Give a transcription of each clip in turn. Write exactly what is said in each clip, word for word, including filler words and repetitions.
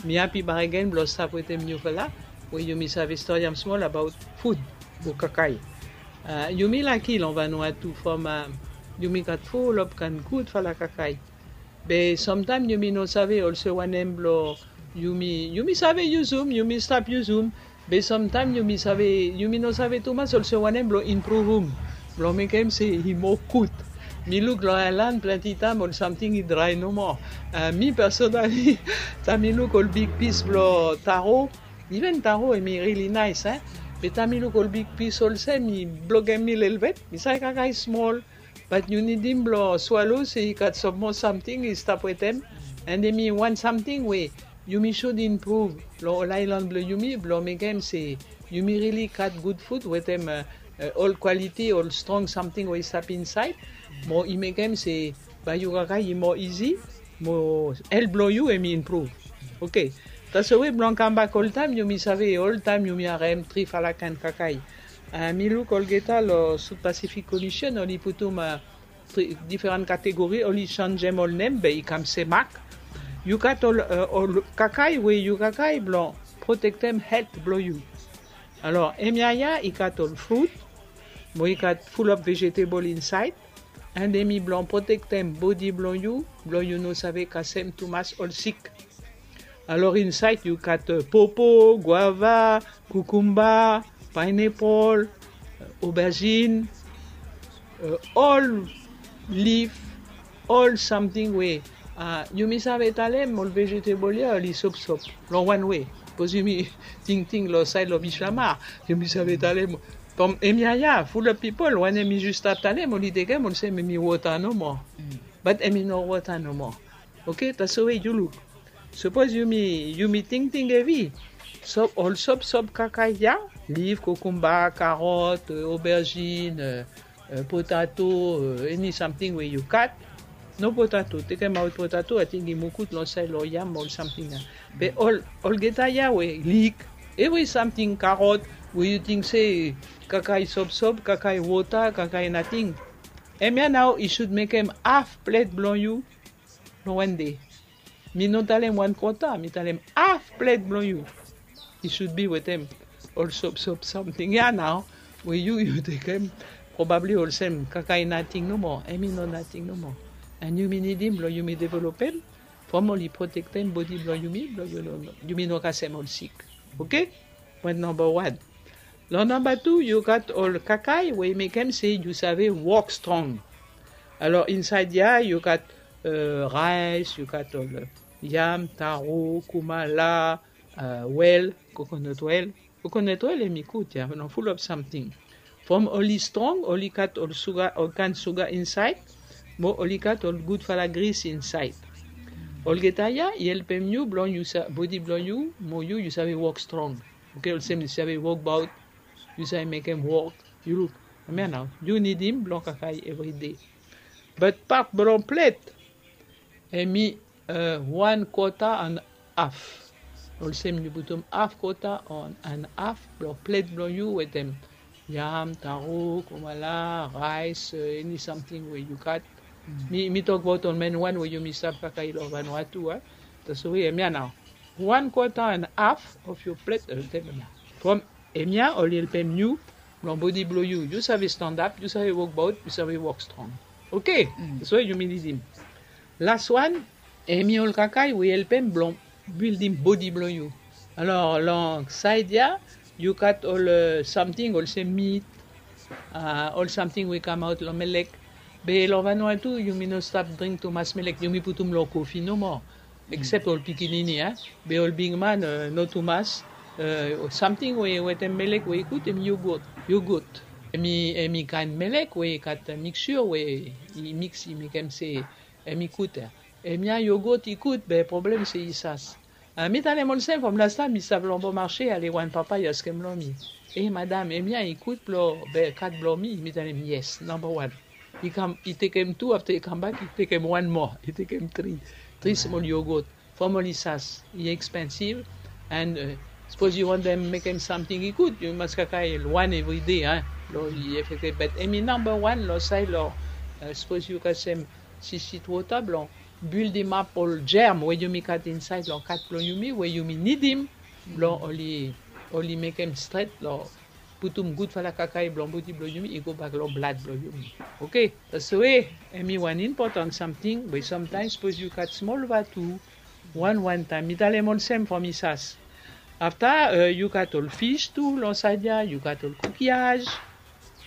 Mi api baregen blong stap wetem niufala we yumi save stori am smol abaot fud o kakae. Yumi laki long Vanuatu from yumi gat fulop kaen gudfala kakae. Be samtaem yumi no save olse wanem blong yumi yumi save yusum, yumi stap yusum. Be samtaem yumi save yumi no save tumas olse wanem blong impruvum blong mekem se i moa gud. Mi luk long aelan plante taem ol samting i drae nomo. Mi personali taem mi luk ol bigpis blong taro, iven taro em i rili naes e. Be taem mi luk ol bigpis olsem i blokem mi lelebet, mi save kakae smol. Bat yu nidim blong swalo se i gat sam moa samting i stap wetem. An em i wan samting we yumi sud impruv long ol aelan blong yumi blong mekem se yumi rili gat gud fud wetem ol kwaliti ol strong samting we i stap insaed. Mo i mekem se bae yu kakae i moa izi, mo el blong yu em i impruv. Oke. Taswe blong kambak oltaem yumi save oltaem yumi harem trifala kaen kakae. Mi luk olgeta long South Pacific Commission oli putum diferan kategori, oli sanjem ol nem be i kam semak. Yu gat ol kakae we yu kakae blong protektem helt blong yu. Alor hemia ya i gat ol frut, mo i gat fulop vejetebol insaed. An em i blong protektem bodi blong yu blong yu no save kasem tumas ol sik. Alor insaed yu gat popo, guava, kukumba, paenepol, oberzin, ol lif, ol samting we yumi save talem ol vejetebol ya oli sopsop long wan we. Bikos yumi tingting long saed long bislamar, yumi save talem from hemia ya fulop pipol wanem mi zus stap talem oli tekem olsem em i wota nomo. Bat em i no wota nomo. Oke, taswe yu luk. Sapos yumi yumi tingting hevi, ol sopsop kakae ya, lif, kokumba, karot, oberzin, potato, eni samting we yu gat. No potato, tekemaot potato, ating i mukut long saed long yam ol samting ya. Be ol olgeta ya we lik, evri samting, karot, we yu ting se kakae sopsop, kakae wota, kakae nating. Hemia nao i sud mekem haf plet blong yu long wan dei. Mi no talem wan kota, mi talem haf plet blong yu i sud bi wetem ol sopsop samting ya nao we yu yu tekem probabli olsem kakae nating nomo. Em i no nating nomo. An yumi nidim blong yumi developem from oli protektem bodi blong yumi blong yumi no kasem ol sik. Oke? Pwen namba wan. Long namba tu yu gat ol kakae we i mekem se yu save wok strong. Alor insaed ya yu gat raes, yu gat ol yam, taro, kumala, wel, kokonot wel. Kokonot wel em i gud ya long fulop samting. From oli strong oli gat ol suga, ol kaen suga insaed. Mo oli gat ol gudfala gris insaed. Olgeta ya i helpem yu blong yu bodi blong yu mo yu yu save wok strong. Oke, olsem yu save wokbaot, yu save mekem wok. Yu luk. Hemia nao yu nidim blong kakae evride. Bat pat blong plet em i wan kota an haf. Olsem yu putum haf kota an haf blong plet blong yu wetem yam, taro, kumala, raes, eni samting we yu gat. Mi mi tokbaot ol men wan we yumi stap kakae long Vanuatu a. Taswe hemia nao wan kota an haf of yu plet. From hemia oli helpem yu blong bodi blong yu yu save standap, yu save wokbaot, yu save wok strong. Oke. Taswe yumi nidim. Las wan, em i ol kakae we i helpem blong bildim bodi blong yu. Alor long saed ya yu gat ol samting olsem mit, ol samting we i kamaot long melek. Be long Vanuatu yumi no stap dring tumas melek, yumi putum long kofi nomo. Eksep ol pikinini a. Be ol bigman no tumas. Samting we wetem melek we i gud em i yogot. Yogot em i em i kaen melek we i gat miksir we i miks i mekem se em i gud. Hemia yogot i gud be problem se i sas. Mi talem olsem from lastaem mi stap long Bon Marché ale wan papa i askem long mi, e madam, hemia i gud blong be kat blong mi? Mi talem yes, namba wan. I kam i tekem tu afta i kambak i tekem wan moa, i tekem tri. Tri smol yogot from oli sas i ekspensiv. And sapos yu wantem mekem samting i gud yu mas kakae wan evride. Long i efekte bet em i namba wan long saed long sapos yu kasem sisit wota blong buildimap ol germ we yumi gat insaed long kat blong yumi we yumi nidim blong oli, oli mekem stret long putum gudfala kakae blong bodi blong yumi i gobak long blad blong yumi. Oke, taswe hemi wan impotan samting we samtaem sapos yu gat smol vatu, wan wan taem mi talem olsem from i sas. Afta yu gat ol fis tu long saed ya, yu gat ol kukiaj,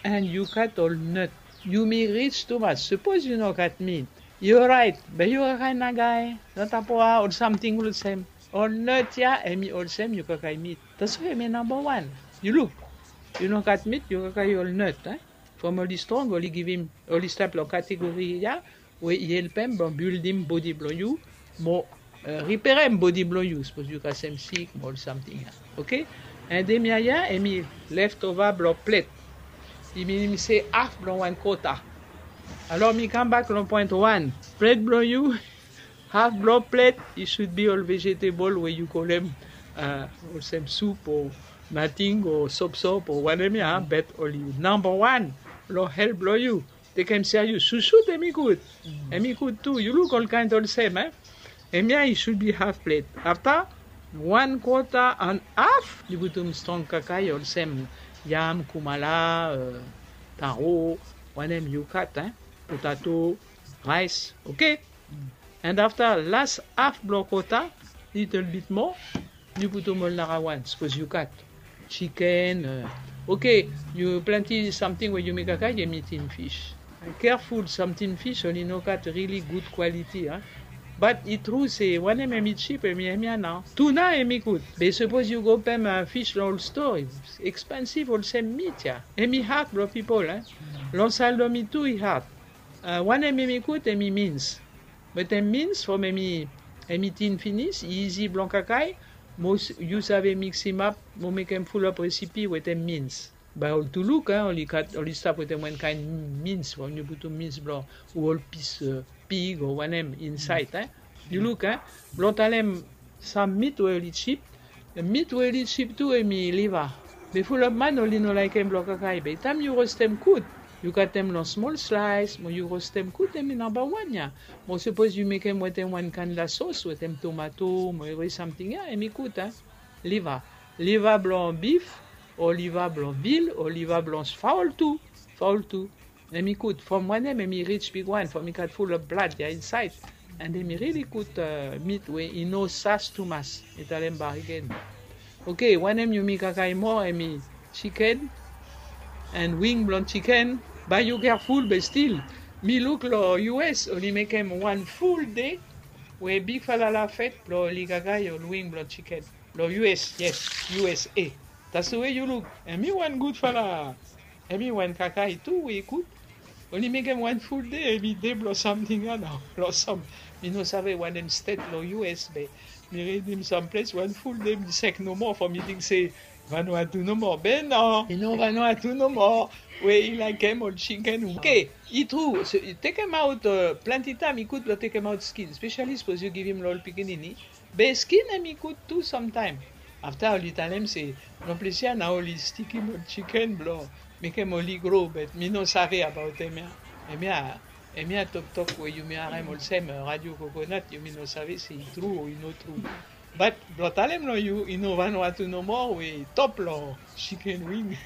and yu gat ol nut. Yumi rij tumas. Sapos yu no gat mit, yu oraet, be yu kakae nagae, natapoa, ol samting olsem. Ol nut ya hemi olsem yu kakae mit. Taswe hemi namba wan. Yu luk, yu no gat mit, yu kakae ol nut, e? From oli strong, oli givim, oli stap long kategori ya we i helpem blong bildim bodi blong yu mo riperem bodi blong yu sapos yu kasem sik mo ol samting ya. Oke? And hemia ya hemi leftova blong plet. I minim se haf blong wan kota. Alor mi kambak long point wan. Plet blong yu, haf blong plet i sud bi ol vegetable we yu kolem olsem sup o nating o sopsop o wanem ya, bet oli namba wan long helt blong yu. Tekem serio, susut hemi gud. Hemi gud tu, yu luk ol kaen olsem, e? Hemia i sud bi haf plet. Afta wan kota and haf yu putum strong kakae olsem yam, kumala, taro, wanem yu gat, e? Potato, raes. Oke? And afta las haf blong kota, litol bit moa, yu putum ol narawan sapos yu gat. Chiken, oke, yu plante samting we yumi kakae, hemi tin fis. Kerful, sam tin fis oli no gat rili gud kwaliti, a. Bat i tru se wanem hemi jip, hemi, hemia nao. Tuna hemi gud. Be sapos yu go pem fis long ol stoa, ekspensiv olsem mit ya. Hemi had blong pipol, a. Long Saldomi tu i had. Wanem hemi gud, hemi mins. Wetem mins from hemi, hemi tin finis, i izi blong kakae, mo yu save miksimap mo mekem fulap resipi wetem mins. Bae ol tu luk, a, oli gat, oli stap wetem wan kaen mins from yu putum mins blong ol pis pig o wanem insaed, a. Yu luk, a, blong talem sam mit we oli jip, mit we oli jip tu hemi liva. Be fulap man oli no laekem blong kakae, be taem yu rostem gud, yu katem long smol slaes mo yu rostem gud, hemi namba wan ya. Mo sapos yu mekem wetem wan kaen sos wetem tomato mo evri samting ya, hemi gud, a. Liva, liva blong bif o liva blong vil o liva blong faol tu, faol tu. Hemi gud from wanem, hemi rij bigwan from i gat fulap blad ya insaed. And hemi rili gud mit we i no sas tumas. Mi talem bakegen. Oke, wanem yumi kakae moa, hemi jiken and wing blong jiken. Bae yu kerful, be stil mi luk long U S oli mekem wan ful dei we bigfala lafet blong oli kakae ol wing blong jiken. Long U S, yes, U S A. Taswe yu luk, hemi wan gudfala, hemi wan kakae tu we i gud. Oli mekem wan ful dei, hemi dei blong samting ya nao, long sam, mi no save wanem stet long U S, be mi ridim sam ples wan ful dei mi sek nomo from mi ting se Vanuatu nomo, be nao, i no Vanuatu nomo we i laekem ol jiken. Oke, i tru, tekemaot, plante taem i gud blong tekemaot skin, spesiali sapos yu givim long ol pikinini. Be skin hemi gud tu samtaem. Afta oli talem se long ples ya nao oli stikim ol jiken blong mekem oli gro, be mi no save abaot hemia. Hemia, hemia toktok we yumi harem olsem Radio Coconut, yumi no save se i tru o i no tru. Bat blong talem long yu, i no Vanuatu nomo we i top long jiken wing.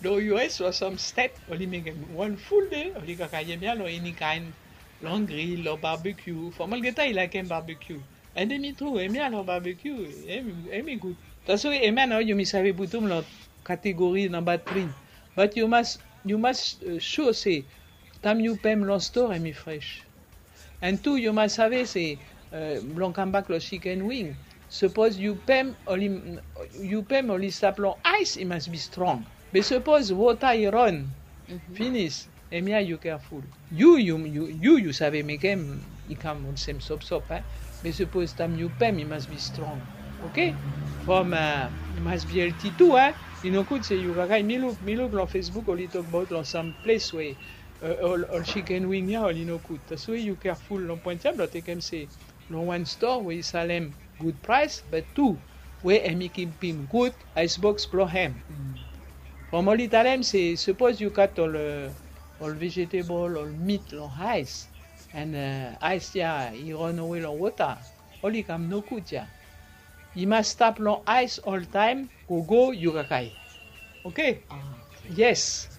Long U S long sam stet oli mekem wan ful dei, oli kakae hemia long eni kaen, long gril, long barbecue, from olgeta i laekem barbecue. And hemi tru, hemia long barbecue, hemi gud. Taswe hemia nao yumi save putum long kategori namba tri. Bat yu mas, yu mas sua se taem yu pem long stoa hemi fres. And tu yu mas save se, blong kambak long jiken wing, sapos yu pem oli, yu pem oli stap long aes, i mas bi strong. Be sapos wota i ron finis, hemia yu kerful. Yu, yu, yu, yu save mekem i kam olsem sopsop, e. Be sapos taem yu pem i mas bi strong. Oke? From i mas bi helti tu, e. I no gud se yu kakae, mi luk, mi luk long Facebook oli tokbaot long sam ples we ol, ol jiken wing ya oli no gud. Taswe yu kerful long poen ya blong tekem se long wan stoa we i salem gud praes, be tu we hemi kipim gud aes boks blong hem. From oli talem se sapos yu gat ol, ol vegetable, ol mit long aes, And ais ya i ran awe long wota, oli kam nogud ya. I mas stap long ais oltaem, gogo yu kakae. Oke. Yes.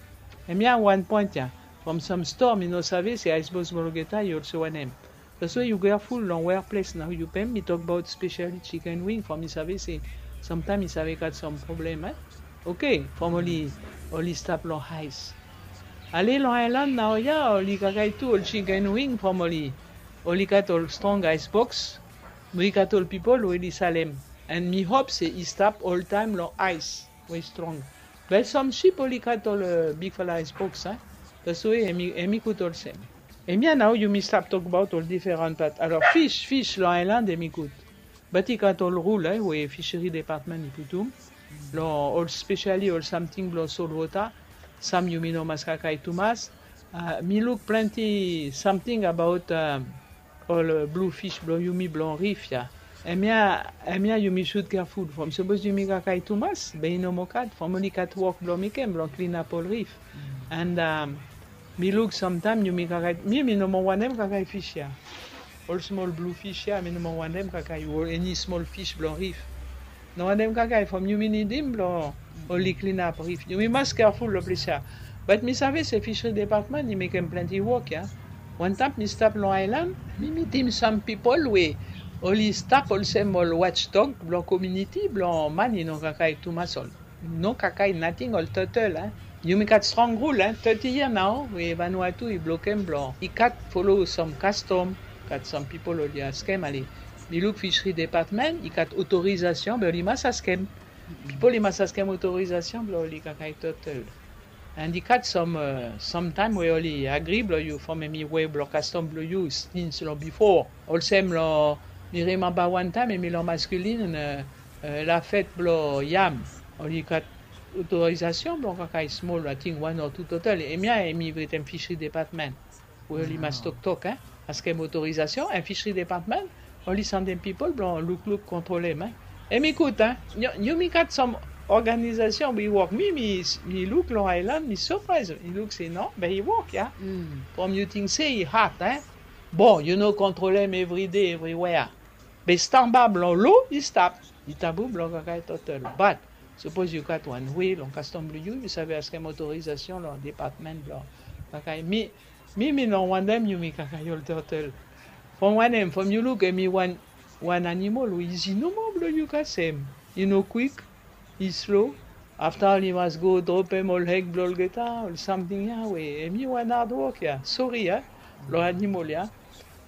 Hemia wan poen ya. From sam stoa mi no save se ais boks blong olgeta i olsem wanem. Taswe yu geaful long wea ples nao yu pem, mi tokbaot spesiali chiken wing from mi save se samtaem i save gat sam problem. Oke, from oli oli stap long ais. Ale long aelan nao ya oli kakae tu ol chiken wing from oli oli gat ol strong ais boks. Mo i gat ol pipol we oli salem. And mi hop se i stap oltaem long ais we i strong. Be sam sip oli gat ol bigfala ais boks. Taswe hemi gud olsem. Hemia nao yumi stap tokbaot ol diferan pat. Alor fis fis long aelan hemi gud. Bat i gat ol rul we fisheri depatmen i putum long ol spesiali ol samting blong solwota. Sam yumi no mas kakae tumas. Mi luk plante samting abaot ol blu fis blong yumi blong rif ya. Hemia hemia yumi sud keaful from sapos yumi kakae tumas be i no moa gat from oli gat wok blong mekem blong klinap ol rif. And mi luk samtaem yumi kakae mi mi no moa wantem kakae fis ya. Ol smol blu fis ya mi no moa wantem kakae o eni smol fis blong rif. No wantem kakae from yumi nidim blong oli klinap rif. Yumi mas keaful long ples ya. Bat mi save se fisheri depatmen i mekem plante wok ya. Wantaem mi stap long aelan mi mitim sam pipol we oli stap olsem ol watchdog blong kominiti blong man i no kakae tumas ol no kakae nating ol totel. Yumi gat strong rul teti yia nao we vanua tu i blokem blong i gat folo sam kastom. Gat sam pipol oli askem ale mi luk fisheri depatmen i gat otorizasion be oli mas askem. Pipol i mas askem otorizasion blong oli kakae totel. And i gat sam samtaem we oli agri blong yu from hemi we blong kastom blong yu stins long bifo. Olsem long mi rimamba wantaem hemi long maskulin lafet blong yam. Oli gat otorizasion blong kakae smol ating wan o tu totel hemia hemi wetem fisheri depatmen. We oli mas toktok askem otorizasion and fisheri depatmen oli sandem pipol blong lukluk kontrolem. Hemi gud. Yumi gat sam organizasion we i wok mi mi luk long aelan mi sapraes i luk se no be i wok ya. From yu ting se i had. Bon yu no kontrolem evride evriwea. Be stamba blong lo i stap. I tabu blong kakae totel bat sapos yu gat wan we long kastom blong yu yu save askem otorizasion long depatmen blong kakae mi mi mi no wantem yumi kakae ol totel. From wanem from yu luk hemi wan wan animol we izi nomo blong yu kasem. I no kwik. I slo. Afta oli mas go dropem ol hek blong olgeta ol samting ya we hemi wan adwok ya sori ya long animol ya.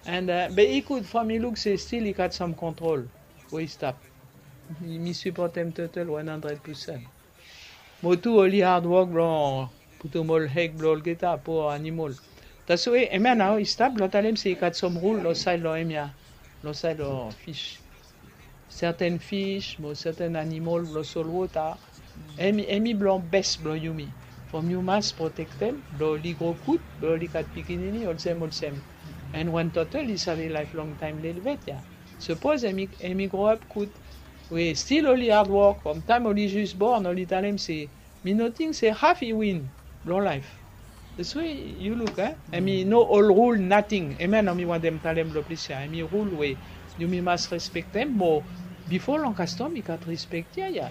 And be i gud from i luk se stil i gat sam kontrol we i stap. Mi sipotem totel wan handred pusen. Mo tu oli adwok blong putum ol hek blong olgeta po animol. Taswe hemia nao i stap blong talem se i gat sam rul long saed long hemia long saed long fis. Serten fis mo serten animol blong solwota. Hemi blong bes blong yumi. From yu mas protektem blong oli gro gud blong oli gat pikinini olsem olsem. And wan totel i save laef longtaem lelebet ya. Sapos hemi gro ap gud we stil oli adwok from taem oli jis born oli talem se mi no ting se haf i win blong laef. That's why yu luk. Hemi no ol rul nating hemia nao mi wantem talem long ples ya hemi rul we yumi mas respektem mo bifo long kastom i gat respek ya ya.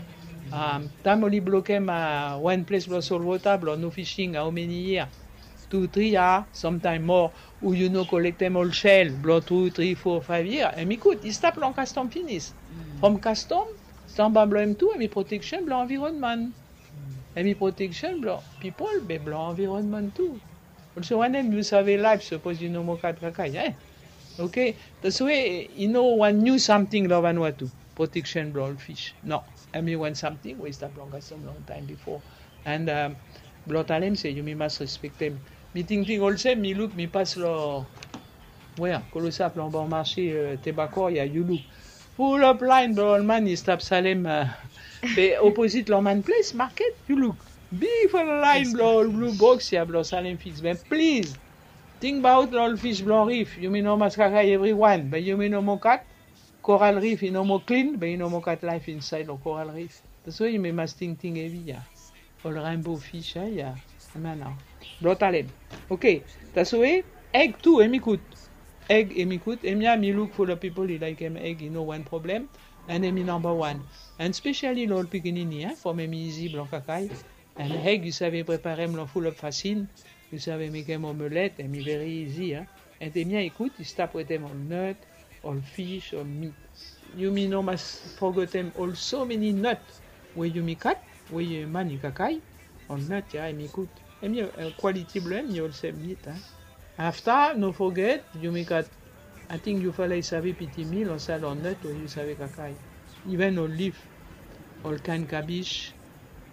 Taem oli blokem wan ples blong solwota blong no fishing aomeni yia? Tu tri ya samtaem moa. U yu no kolektem ol sel blong tu tri fo faev yia hemi gud i stap long kastom finis. From kastom stamba blong hem tu hemi proteksen blong anvironman. Hemi proteksen blong pipol be blong anvironman tu. Olsem wanem yu save laef sapos yu no moa gat kakae. Oke. Taswe i no wan niu samting long vanua tu proteksen blong ol fis no. Hemi wan samting we i stap long kastom longtaem bifo. And blong talem se yumi mas respektem. Mi tingting olsem mi luk mi pas long wea klosap long bor marse tebakor ya yu luk. Fulop laen blong ol man i stap salem be oposit long man ples maket yu luk. Bigfala laen blong ol blu boks ya blong salem fis be plis. Tingbaot long ol fis blong rif yumi no mas kakae evriwan be yumi no moa gat. Koral rif i no moa klin be i no moa gat laef insaed long koral rif. Taswe yumi mas tingting hevi ya. Ol renbo fis ya ya. Hemia nao blong talem. Oke. Taswe eg tu hemi gud. Eg hemi gud, hemia mi luk fulap pipol i laekem eg, i no wan problem. And hemi namba wan. And specially lo ol pikinini, from hemi izi blong kakae. And eg yu save preparem lo fulap fasin. Yu save mekem omelet, hemi veri izi. And hemia i gud i stap wetem ol nut, ol fish, ol meat. Yumi no mas fogetem ol so many nut we yumi gat we man i kakae. Ol nut ya hemi gud. Hemi kwaliti blong hem i olsem meat. Afta no foget yumi gat, ating yufala i save pitim mi lo sait ol nut we yu save kakae. Even ol lif, ol kaen kabis.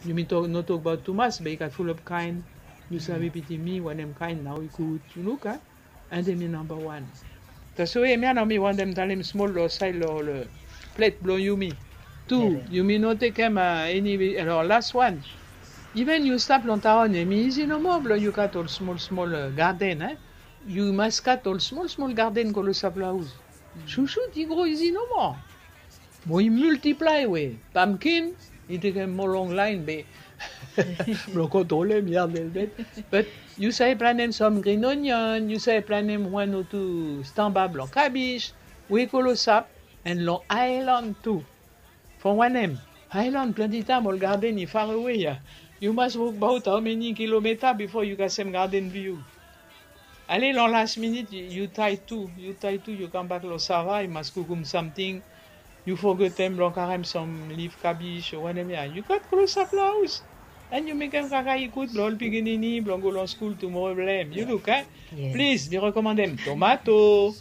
Yumi no tokbaot tumas be i gat fulap kaen. Yu save pitim mi wanem kaen nao i gud, yu luk. And hemi namba wan. Taswe hemia nao mi wantem talem smol lo sait lo ol plet blong yumi. Tu, yumi no tekem eni, lo las wan. Even yu stap long taon, hemi izi nomo blong yu gat ol smol smol garden. Yu mas gat ol smol smol garden klosap lo haos. Susut i gro izi nomo. Mo i multiplae we pumpkin i tekem mo long laen be blong kontrolem ya velvet. But yu save planem sam green onion, yu save planem wan o tu stamba blong kabis we i klosap. And long aelan tu. From wanem? Aelan plante taem ol garden i farewe ya. Yu mas wokbaot hao meni kilometa bifo yu kasem garden blong yu. Ale long las minit yu tae tu, yu tae tu, yu kambak long sava, yu mas kukum samting. Yu fogetem blong karem sam lif kabis o wanem ya. Yu gat klosap long haos. And yu mekem kakae i gud blong ol pikinini blong go long skul tumoro blong hem. Yu luk, eh? Plis mi rekomandem tomato.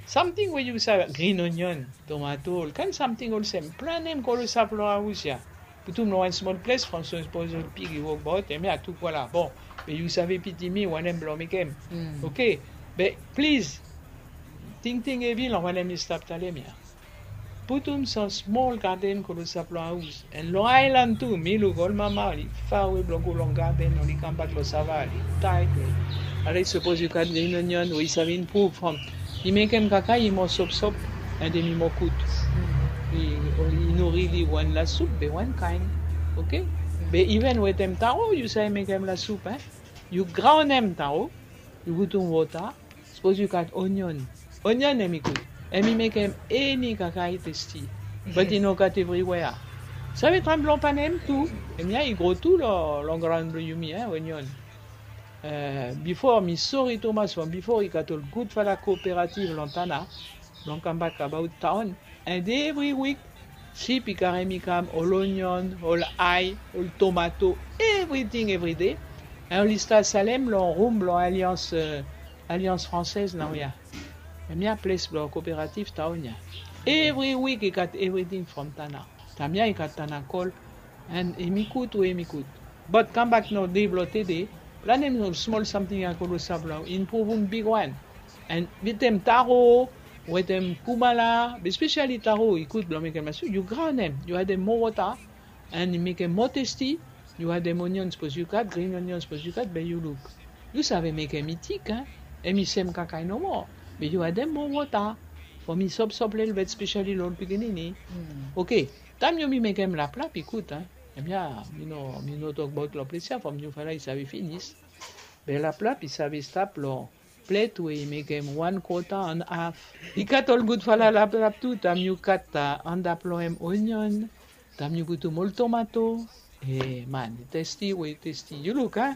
Samting we yu save, green onion, tomato, ol kaen samting olsem. Planem klosap long haos ya. Putum long wan smol ples from sapos ol pig i wokbaot, hemia tu kwala. Bon, be yu save pitim mi wanem blong mekem. Oke. Be plis, tingting hevi long wanem mi stap talem ya. Putum sam smol garden klosap long haos. And long aelan tu, mi luk ol mama oli farewe blong go long garden, oli kambak long sava, oli tae. Ale sapos yu gat green onion we i save impruv from i mekem kakae i mo sopsop, and hemi mo gud. I no rili wan lasup be wan kaen. Oke. Be even wetem taro yu save mekem lasup, eh? Yu graonem taro, yu putum wota. Sapos yu gat onion. Onion hemi gud. Hemi mekem eni kakae testi. But i no gat evriwea. Save traem blong panem tu. Hemia i gro tu long graon blong yumi, eh, onion. Bifo mi sori tumas from bifo i gat ol gudfala kooperativ long Tanna blong kambak abaot taon. And evri wik sip i karem i kam ol onion, ol ae, ol tomato, evriting evride. And oli stat salem long rum blong Alliance, Alliance Française naoia. Hemia ples blong kooperativ taon ya. Evri wik i gat evriting from Tanna. Taem ya i gat Tanna Gold. And hemi gud we hemi gud. But kambak nao dei blong tede, planem ol smol samting ya klosap blong impruvum bigwan. And wetem taro, wetem kumala, be spesiali taro i gud blong mekem lasup. Yu graonem, yu adem moa wota, and i mekem moa testi. Yu adem onion sapos yu gat, green onion sapos yu gat, be yu luk. Yu save mekem i tik, eh? Hemi sem kakae nomo. Be yu adem moa wota from i sopsop lelebet, spesiali long ol pikinini. Oke. Taem yumi mekem laplap i gud, eh? Hemia mi no, mi no tokbaot long ples ya from yufala i save finis. Be laplap i save stap long plet we i mekem wan kwota and haf. I gat ol gudfala laplap tu, taem yu gat antap long hem onion, taem yu putum ol tomato. Eh man, i testi we i testi. Yu luk, eh?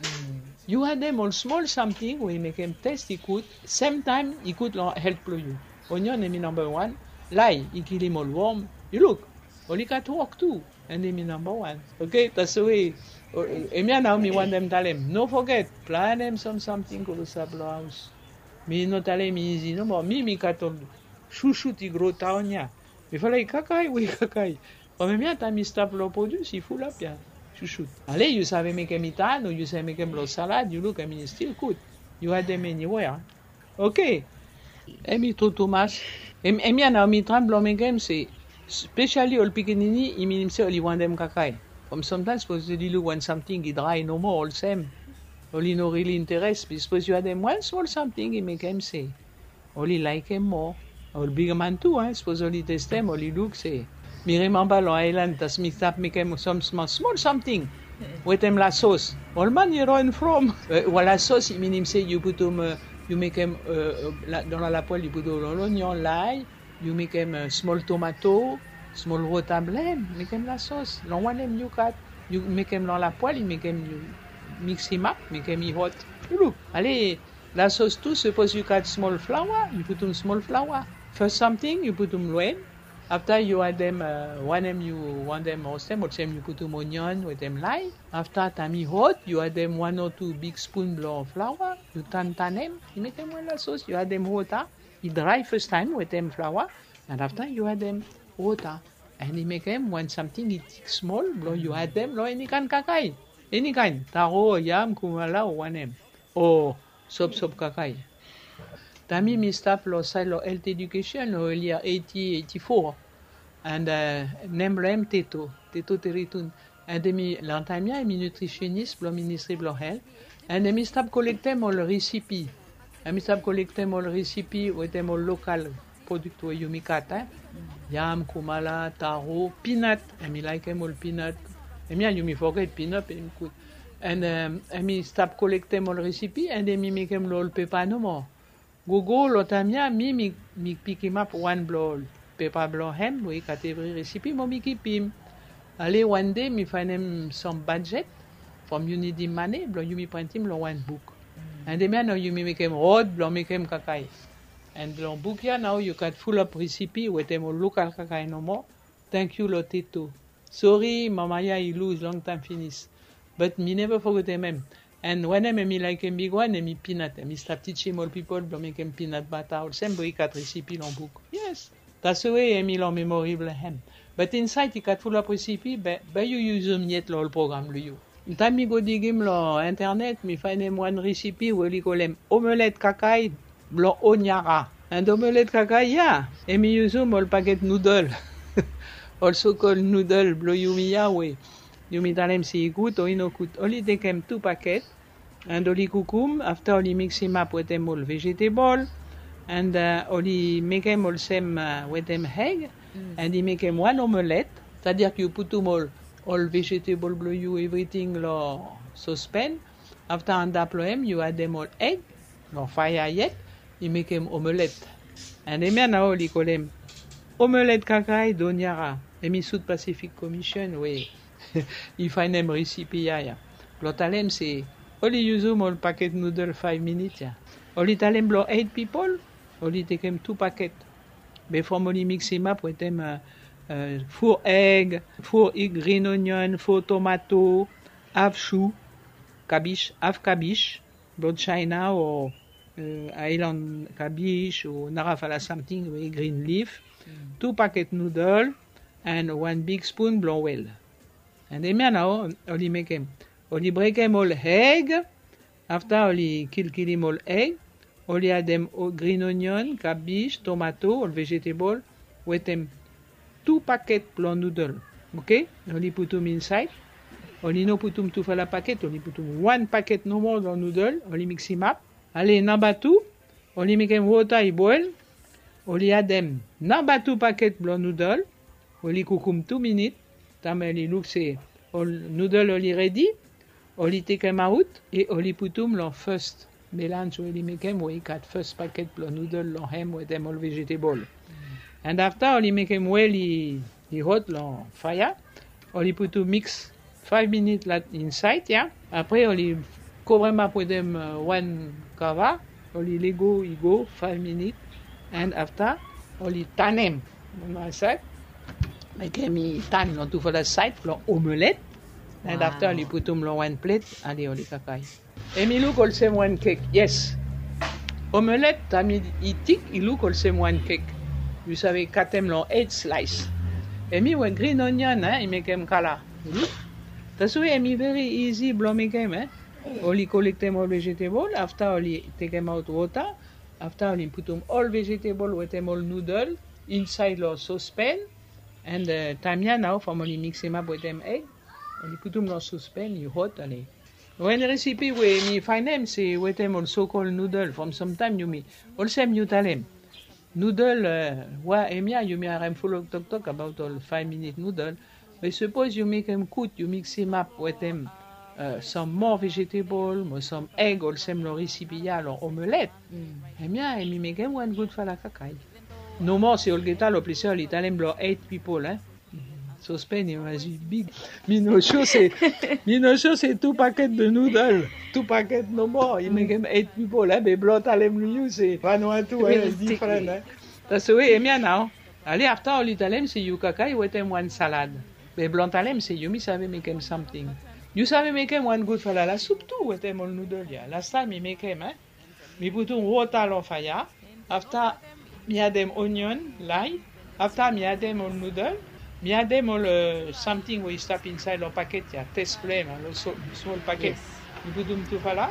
Yu adem ol smol samting we i mekem testi gud. Semtaem i gud long helt blong yu. Onion hemi namba wan. Lae i kilim ol wom. Yu luk, oli gat wok tu. And hemi namba wan. Oke, taswe. Hemia nao mi wantem talem. No foget, planem sam samting klosap long haos. Mi no talem i izi nomo. Mi, mi gat ol susut i gro taon ya. Mifala i kakae, we i kakae. From hemia taem i stap long produs i fulap ya. Susut. Ale yu save mekem i tan o yu save mekem long salad, yu luk, hemi stil gud. Yu adem eniwea. Oke. Hemi tru tumas. Hemia nao mi traem blong mekem se, spesiali ol pikinini, i minim se oli wantem kakae. From samtaem sapos oli luk wan samting i drae nomo olsem, oli no rili interes. Be sapos yu adem wan smol samting i mekem se oli laekem moa. Ol bigman tu, eh, sapos oli testem, oli luk se. Mi rimemba long aelan taem mi stap mekem sam smol samting wetem lasos. Ol man i ron from. Lasos i minim se yu putum yu mekem, eh, la, dan la lapoêl yu putum ol onyon, lay, yu mekem, eh, smol tomato, smol wota blong hem, mekem lasos. Long wanem yu kat, yu mekem long lapoêl, yu mekem, yu miksimap, mekem i hot. Yu luk. Ale, lasos tu, sapos yu kat smol flaoa, yu putum smol flaoa. Fes samting yu putum long hem. Afta yu adem, eh, wanem yu wantem roastem, olsem yu putum onyon wetem lay. Afta taem i hot, yu adem wan o tu big spoon blong flaoa, yu tantanem, i mekem wan lasos, yu adem wota, i drae fastaem wetem flaoa, and afta yu adem wota, and i mekem wan samting i tik smol blong yu adem long eni kaen kakae. Eni kaen, taro o yam, kumala o wanem. O sopsop kakae. Taem mi stap long saed long health education long early eighty, eighty-four. And, eh, nem blong hem Teto, Teto Teritun. And hemi, long taem ya, hemi nutritionist blong Ministry blong Health. And hemi stap kolektem ol recipe. Hemi stap kolektem ol recipe wetem ol local product we yumi kat, eh. Yam, kumala, taro, peanut. Hemi laekem ol peanut. Hemia yumi foget peanut, hemi gud. And, em, hemi stap kolektem ol recipe, and hemi mekem long ol pepa nomo. Gogo long taem ya, mi, mi, mi pikimap wan blong ol pepa blong hem we i gat evri recipe, mo mi kipim. Ale, wan dei mi faenem sam budget from Unity Money blong yumi printim long wan buk. And hemia nao yumi mekem rod blong mekem kakae. And long buk ya nao yu gat fulap recipe wetem ol local kakae nomo. Tangkiu long Teto. Sori, mama ya i lus longtaem finis. But mi neva fogetem hem. And wanem hemi laekem bigwan, hemi peanut. Hemi stap tijim ol pipol blong mekem peanut butter olsem we i gat recipe long buk. Yes. That's the way hemi long memory blong hem. But insaed i gat fulap recipe, be, be yu yusum yet long ol program blong yu. Taem mi go digim long internet, mi faenem wan recipe we oli kolem omelette kakae blong Honiara. And omelette kakae ya, hemi yusum ol paket noodle. Ol so-called noodle blong yumi ya we yumi talem se i gud o i nogud. Oli tekem tu paket, and oli kukum, afta oli miksimap wetem ol vegetable, and, eh, oli mekem olsem, eh, wetem egg, and i mekem wan omelette, c'est-à-dire yu putum ol, ol vegetable blong yu, evriting long sospen, afta antap long hem yu adem ol egg, long faea yet, i mekem omelette. And hemia nao oli kolem omelette kakae d'Honiara. Hemi South Pacific Commission we i faenem recipe ya ya. Blong talem se oli yusum ol paket noodle five minutes ya. Oli talem blong eight pipol, oli tekem tu paket. Be from oli miksimap wetem, eh, eh, four egg, four green onion, four tomato, half chou, kabij, half kabij, blong China o, eh, island kabij o narafala samting we green leaf, tu paket noodle, and wan big spoon blong oel. And hemia nao oli mekem. Oli brekem ol egg, afta oli kilkilim ol egg, oli adem o-, green onion, kabij, tomato, ol vegetable, wetem tu paket blong noodle. Oke? Oli putum insaed. Oli no putum tufala paket, oli putum wan paket nomo long noodle, oli miksimap. Ale, namba tu, oli mekem wota i boel, oli adem namba tu paket blong noodle, oli kukum tu minit, taem oli luk se ol noodle oli redi, oli tekemaot, e oli putum long first melanj we oli mekem we i gat first paket blong noodle long hem wetem ol vegetable. And afta oli mekem oel i, i hot long faea, oli putum mix five minit la insaed ya. Apre oli kovremap wetem, eh, wan kava, oli lego i go five minit, and afta oli tanem. Mekem i tan long tufala saed long omelette, and afta oli putum long wan plet, ale oli kakae. Hemi luk olsem wan kek, yes. Omelette, taem i tik, i luk olsem wan kek. Yu save katem long eight slice. Hemi we green onion, eh, i mekem kala. Yu luk? That's why hemi very easy blong mekem, eh. Oli kolektem ol vegetable, afta oli tekemaot wota, afta oli putum ol vegetable wetem ol noodle insaed long sospen, and, eh, taem ya nao from oli miksimap wetem egg, oli putum long sospen, i hot, ale. Wan recipe we mi faenem se wetem ol so-called noodle, from samtaem yumi, olsem yu talem. Noodle, eh, wa hemia yumi harem fulap toktok abaot ol five minit noodle. Be sapos yu mekem gud, yu miksimap wetem uh, some more vegetable, mo some egg olsem lo recipe ya lo omelette. Hemia hemi mekem wan gudfala kakai. Nomo se olgeta lo ples ya oli talem blo eight people, eh. Sospen i mas big. Mi no sure se, mi no sure se two packet de noodle, two packet nomo i mekem eight people, eh, be blo talem lo yu se wan o tu, eh, different, eh. That's the way hemia nao. Ale afta oli talem se yu kakai wetem wan salad. Be blo talem se yumi save mekem something. Yu save mekem wan gudfala la soup tu wetem ol noodle ya. Last time mi mekem, eh. Mi putum wota lo faea. Afta mi adem onion, lay. Afta mi adem ol noodle. Mi adem ol, uh, something we i stap insaed lo paket ya, test blem, lo so-, smol paket. Mi putum tufala.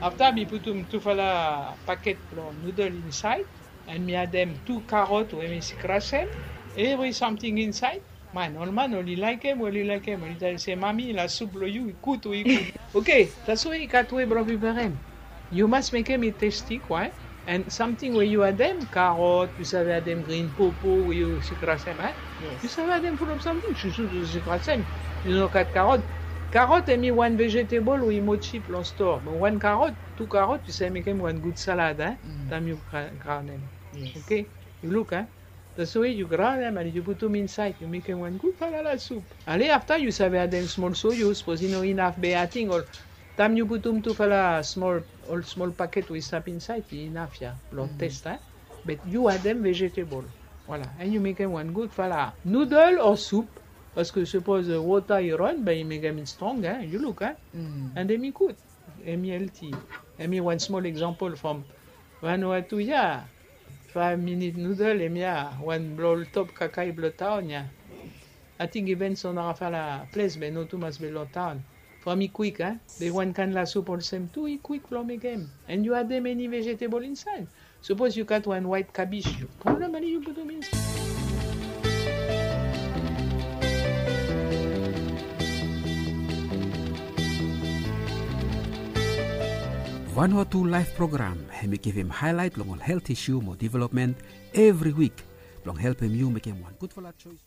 Afta mi putum tufala paket lo noodle insaed. And mi adem tu karot we mi sikrasem. Every something insaed. Man, ol man oli laekem, oli laekem, oli talem se, "Mami, la soup blo yu i gud, we i gud." Okay, that's why i gat way blo preparem. Yu mas mekem i testi, kwa. And something we yu adem, karot, yu save adem green pawpaw we yu sikrasem, eh? Yu save adem full of something, susu yu sikrasem. Yu no gat karot. Karot hemi wan vegetable we i mo cheap lo store. But wan karot, tu karot, yu save mekem wan gud salad, eh? Taem yu gra-, graonem. Okay? Yu luk, eh? That's the way yu graonem and yu putum insaed, yu mekem wan gudfala la soup. Ale afta yu save adem smol soyo, sapos i no inaf, be ating ol, taem yu putum tufala smol, ol smol paket we i stap insaed, i inaf ya blo test, eh? But yu adem vegetable. Voilà, and yu mekem wan gudfala noodle o soup. Paske sapos, uh, wota i ran, be i mekem i strong, eh? Yu luk, eh? And hemi gud. Hemi healthy. Hemi wan smol example from Vanuatu ya. Five minute noodle, hemia wan blo ol top kakai blo taon ya. Ating even son narafala ples be no tumas be lo taon. From i kwik, eh? Be wan kaen la soup olsem tu, i kwik blo mekem. And yu adem eni vegetable insaed. Sapos yu gat wan white cabbage, yu pulum ale yu putum insaed. Vanuatu Life Program hemi givim haelaet long ol helt isu mo developmen evri wik blong helpem yu mekem wan gudfala joes.